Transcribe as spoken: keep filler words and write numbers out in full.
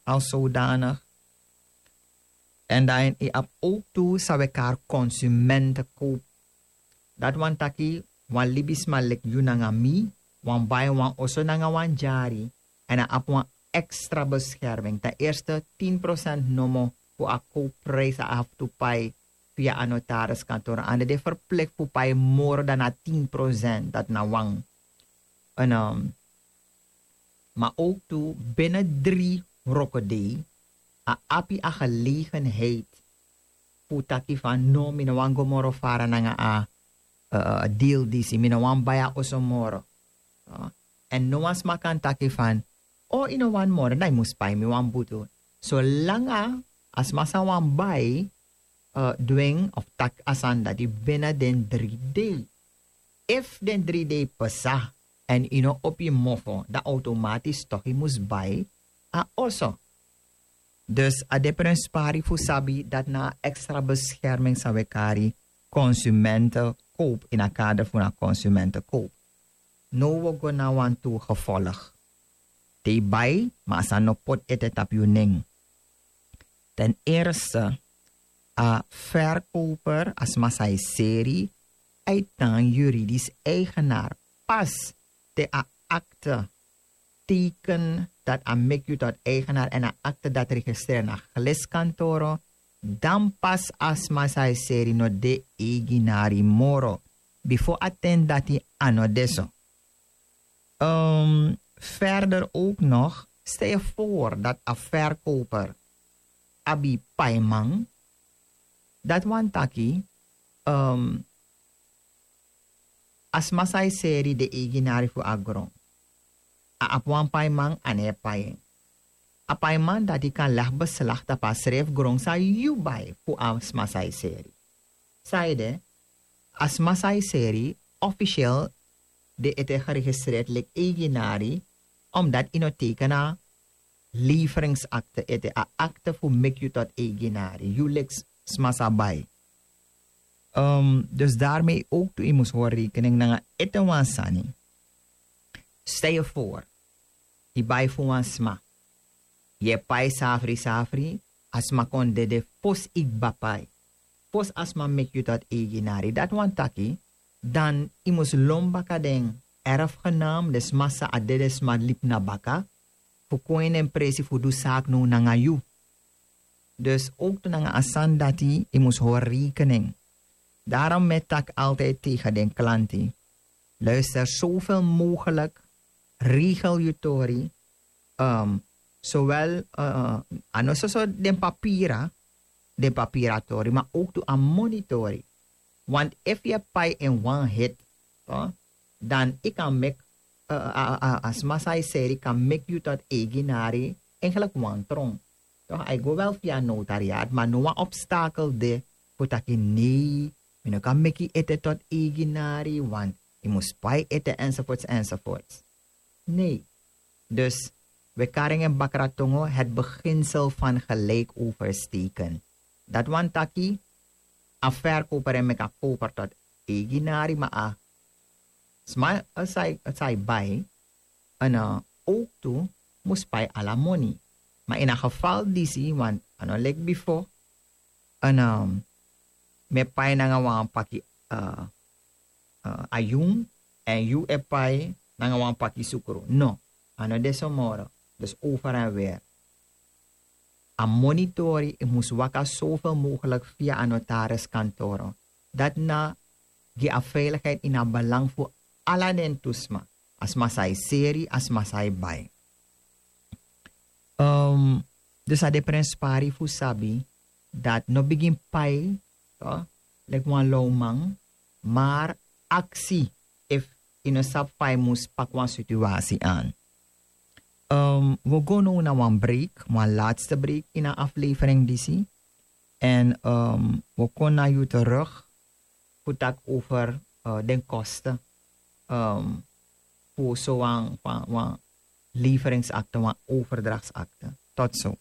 als zodanig. En dan yu abi ook tu san we kari konsumentenkoop. Dati wani taki wan libisma leki yu nanga mi wani bai wan oso nanga wan dyari, en a abi wan extra beskerming. Ten eerste, tin procent nomo fu a koopprijs a abi tu pai via a notariskantoor. Anda de verplicht fu pai moro dan na tin procent, dati na wan. En, ehm, maar ook tu binnen drie rokodei a abi a gelegenheid fu taki van: no, mi no wani go moro fara nanga a, eh, deal disi, mi no wani bai a oso moro. Eh, en no wan sma kan taki van: o, yu no wani moro, dan yu mus pai mi wan butu. Solanga a sma san wani bai, eh, dwing of taki a sani dati binnen den drie dei. Efu den drie dei pasa en yu no opo yu mofo, dan automatisch toch yu mus bai a oso. Dus a de prenspari fu sabi dati na a extra bescherming san we kari konsumentenkoop, in a kader fu na konsumentenkoop. Now we go na wantu gevolg. Te yu bai, ma a sani no poti ete tapu yu nen. Ten eerste, a verkoper, a sma san e seri, a e tan juridisch eigenaar pas te a akte teken dati a meki yu tot eigenaar, en a akte dati registreer na geliskantoro, dan pas a sma san e seri no de eigenari moro. Bifo a ten dati a no de so. Ehm, verder ook nog, stel je voor dat a verkoper abi paiman, dati wani taki, ehm, a sma san e seri de eigenari fu a gron. A abi wan paiman, a no e pai en. A paiman dati kan leg beslag tapu a srefi gron san yu bai fu a sma san e seri. Sanede, a sma san e seri officieel de ete geregistreerd leki eigenari, omdat yu no teken a leveringsakte ete, a akte fu meki yu tot eigenari, yu leki sma san bai. Ehm, dus daarmee ook tu yu mus hori rekening nanga ete wan sani. Stel je voor, yu bai fu wan sma. Yu e pai safri safri, a sma kon dede fosi yu kba pai. Fosi a sma meki yu tot eigenari. Dati wani taki, dan yu mus lon baka den erfgenaam, den sma san a dede sma libi na baka, fu kon ini en presi fu du zaak now nanga yu. Dus ook tu nanga a sani dati yu mus hori rekening. Daarom mi e taki altijd tegen den klanti: luister, zoveel mogelijk regel yu tori, ehm, zowel, eh, a no soso den papira, den papira tori, maar ook tu a moni tori. Want efu yu e pai in wan hit, toch, dan yu kan meki, eh, a, a, a sma san e seri kan meki yu tot eigenari, eigenlijk wantron. Toch, a e go wel via notariaat, maar no wan obstakel de fu taki nee, mi no kan meki yu ete tot eigenari, want yu mus pai ete, enzovoorts, enzovoorts. Nee. Dus we kari en bakra tongo het beginsel van gelijk oversteken. Dati wani taki, a verkoper e meki a koper tot eigenari, maar a sma, eh, san e, san e bai, en, eh, ook tu mus pai ala moni. Maar in a geval disi, want a no leki bifo, en, ehm, mi e pai nanga wan paki, eh, eh, ayun, en yu e pai nanga wan paki sukru. No, a no de so moro. Dus over en weer. A moni tori, yu mus waka zoveel mogelijk via a notariskantoro. Dati na gi a veiligheid ini a belang fu ala den tu sma. A sma san e seri, a sma san e bai. Ehm, dus a de prenspari fu sabi dati no bigin pai, toch, leki wan lawman, maar aksi efu yu no sabi fa yu mus paki wan situasi aan. Ehm, we go now na wan break, wan laatste break in a aflevering disi. En, ehm, we kon na yu terug fu taki over, eh, den kosten, ehm, fu so wan, wan, wan leveringsakte, wan overdrachtsakte. Tot zo.